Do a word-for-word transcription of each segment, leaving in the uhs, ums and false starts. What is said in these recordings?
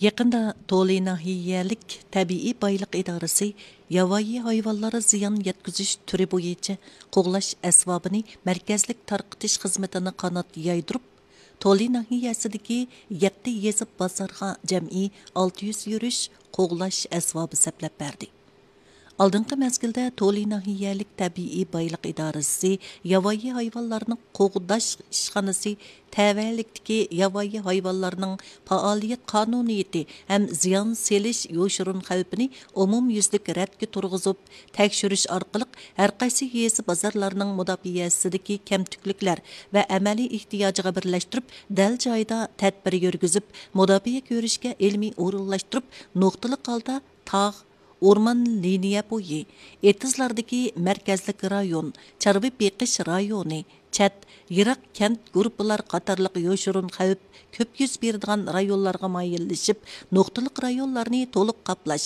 يېقىندا تولى ناھىيەلىك تەبىئىي بايلىق ئىدارىسى ياۋايى ھايۋانلارغا زىيان يەتكۈزۈش تۈرى بويىچە قوغلاش ئەسۋابىنى مەركەزلىك تارقىتىش خىزمىتىنى قانات يايدۇرۇپ، تولى ناھىيەسىدىكى يەتتە يېزا بازارغا جەمئىي ئالتە يۈز يۈرۈش قوغلاش ئەسۋابى سەپلەپ بەردى. ئالدىنقى مەزگىلدە تولى ناھىيەلىك تەبىئىي بايلىق ئىدارىسى ياۋايى ھايۋانلارنى قوغداش ئىشخانىسى تەۋەلىكتىكى ياۋايى ھايۋانلارنىڭ پائالىيەت قانۇنىيىتى ھەم زىيان سېلىش يوشۇرۇن خەۋپىنى ئومۇميۈزلۈك رەتكە تۇرغۇزۇپ، تەكشۈرۈش ئارقىلىق ھەرقايسى يېزا بازارلارنىڭ مۇداپىئەسىدىكى كەمتۈكلۈكلەر ۋە ئەمەلىي ئېھتىياجىغا بىرلەشتۈرۈپ، دەل جايىدا تەدبىر يۈرگۈزۈپ، مۇداپىئە كۆرۈشكە ئىلمىي ئورۇنلاشتۇرۇپ، نۇقتىلىق ھالدا تاغ، ئورمان لىنىيە بويى، ئېتىزلاردىكى مەركەزلىك رايون، چارۋا بېقىش رايونى، چەت، يىراق كەنت گۇرۇپپىلار قاتارلىق يوشۇرۇن خەۋپ كۆپ يۈز بېرىدىغان رايونلارغا مايىللىشىپ، نۇقتىلىق رايونلارنى تولۇق قاپلاش،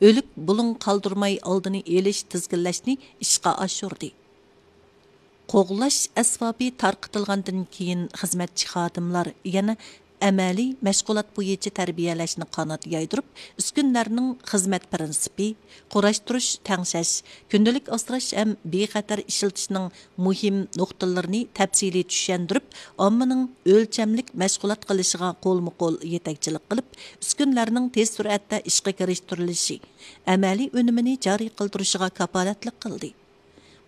ئۆلۈك بۇلۇڭ قالدۇرماي ئالدىنى ئېلىش، تىزگىنلەشنى ئىشقا ئاشۇردى. قوغلاش ئەسۋابى تارقىتىلغاندىن كېيىن، خىزمەتچى خادىملار يەنە ئەمەلىي مەشغۇلات بويىچە تەربىيەلەشنى قانات يايدۇرۇپ، ئۈسكۈنىلەرنىڭ خىزمەت پىرىنسىپى، قۇراشتۇرۇش، تەڭشەش، كۈندىلىك ئاسراش ھەم بىخەتەر ئىشلىتىشنىڭ مۇھىم نۇقتىلىرىنى تەپسىلىي چۈشەندۈرۈپ، ئاممىنىڭ ئۆلچەملىك مەشغۇلات قىلىشىغا قولمۇ قول يېتەكچىلىك قىلىپ، ئۈسكۈنىلەرنىڭ تېز سۈرئەتتە ئىشقا كىرىشتۈرۈلۈشى، ئەمەلىي ئۈنۈمىنى جارى قىلدۇرۇشىغا كاپالەتلىك قىلدى.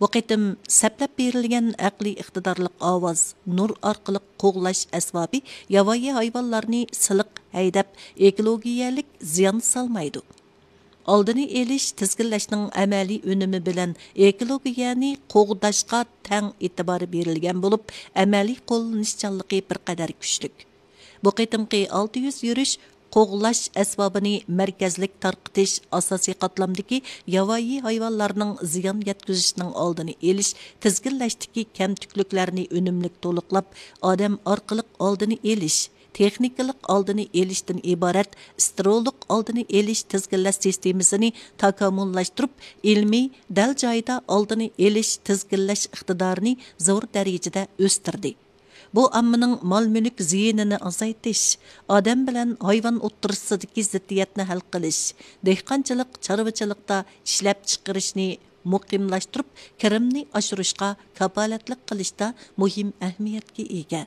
بۇ قېتىم سەپلەپ بېرىلگەن ئەقلىي ئىقتىدارلىق ئاۋاز نۇر ئارقىلىق قوغلاش ئەسۋابى ياۋايى ھايۋانلارنى سىلىق ھەيدەپ، ئېكولوگىيەلىك زىيان سالمايدۇ. ئالدىنى ئېلىش، تىزگىنلەشنىڭ ئەمەلىي ئۈنۈمى بىلەن ئېكولوگىيەنى قوغداشقا تەڭ ئېتىبار بېرىلگەن بولۇپ، ئەمەلىي قوللىنىشچانلىقى بىر قەدەر كۈچلۈك. بۇ قېتىمقى ئالتە يۈز يۈرۈش قوغلاش ئەسۋابىنى مەركەزلىك تارقىتىش، ئاساسىي قاتلامدىكى ياۋايى ھايۋانلارنىڭ زىيان يەتكۈزۈشىنىڭ ئالدىنى ئېلىش، تىزگىنلەشتىكى كەمتۈكلۈكلەرنى ئۈنۈملۈك تولۇقلاپ، ئادەم ئارقىلىق ئالدىنى ئېلىش، تېخنىكىلىق ئالدىنى ئېلىشتىن ئىبارەت ستېرېئولۇق ئالدىنى ئېلىش تىزگىنلەش سىستېمىسىنى تاكامۇللاشتۇرۇپ، ئىلمىي، دەل جايىدا ئالدىنى ئېلىش، تىزگىنلەش ئىقتىدارىنى زور دەرىجىدە ئۆستۈردى. بۇ ئاممىنىڭ مال-مۈلۈك زىيىنىنى ئازايتىش، ئادەم بىلەن ھايۋان ئوتتۇرىسىدىكى زىددىيەتنى ھەل قىلىش، دېھقانچىلىق، چارۋىچىلىقتا ئىشلەپچىقىرىشنى مۇقىملاشتۇرۇپ، كىرىمنى ئاشۇرۇشقا كاپالەتلىك قىلىشتا مۇھىم ئەھمىيەتكە ئىگە.